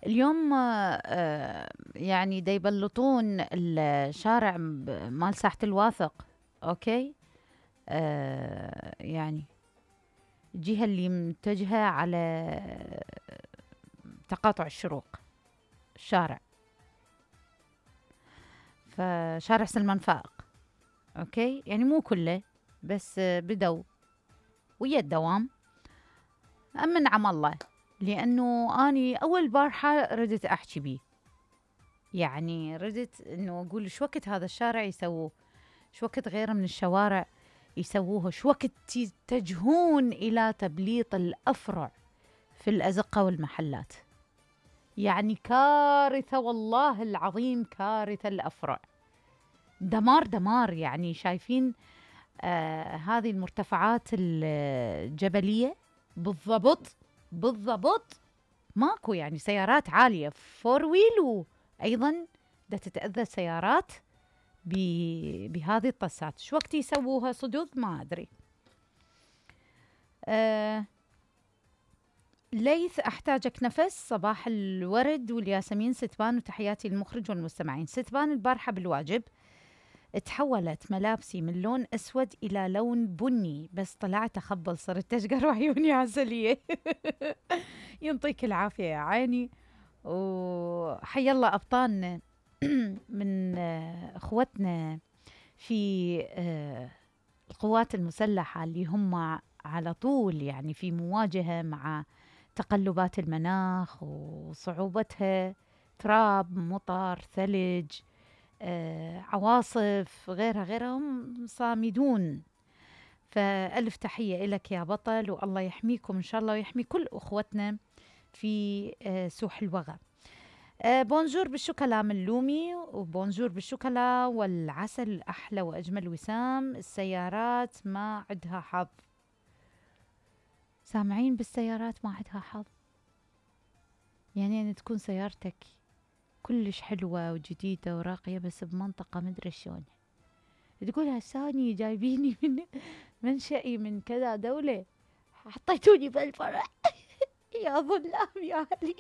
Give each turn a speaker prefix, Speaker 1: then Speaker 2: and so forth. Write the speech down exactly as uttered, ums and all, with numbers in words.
Speaker 1: اليوم آه يعني دا يبلطون الشارع مال ساحة الواثق. اوكي. آه يعني الجهة اللي متجهة على تقاطع الشروق، الشارع فشارع سلمان فائق. اوكي، يعني مو كله بس بدوا ويا الدوام. أمن عم الله، لأنه أني أول بارحة ردت أحكي بيه، يعني ردت إنه أقول شو وقت هذا الشارع يسووه، شو وقت غيره من الشوارع يسووه، شو وقت يتجهون إلى تبليط الأفرع في الأزقة والمحلات. يعني كارثة والله العظيم، كارثة الأفرع، دمار دمار. يعني شايفين آه هذه المرتفعات الجبلية بالضبط بالضبط ماكو يعني سيارات عالية فور ويل، وأيضا دا تتأذى السيارات بهذه الطسات. شو وقت يسووها صدق ما أدري. آه ليث أحتاجك نفس، صباح الورد والياسمين ستبان، وتحياتي للمخرج والمستمعين. ستبان البارحة بالواجب تحولت ملابسي من لون أسود إلى لون بني، بس طلعت أخبل صرت تشقر وعيوني عسلية. ينطيك العافية يا عيني، وحي الله أبطالنا من أخوتنا في القوات المسلحة اللي هم على طول يعني في مواجهة مع تقلبات المناخ وصعوبتها، تراب، مطر، ثلج، آه، عواصف، غيرها غيرها، هم صامدون. فألف تحية إلك يا بطل، والله يحميكم إن شاء الله ويحمي كل أخوتنا في آه سوح الوغى. آه بونجور بالشوكولا من لومي، وبونجور بالشوكولا والعسل الأحلى وأجمل وسام. السيارات ما عندها حظ. سامعين بالسيارات ما عندها حظ، يعني أن تكون سيارتك كلش حلوة وجديدة وراقية بس بمنطقة مدري شلون، تقول هساني جايبيني من منشئي من كذا دولة، حطيتوني بالفرع. يا ظلام يا أهلي.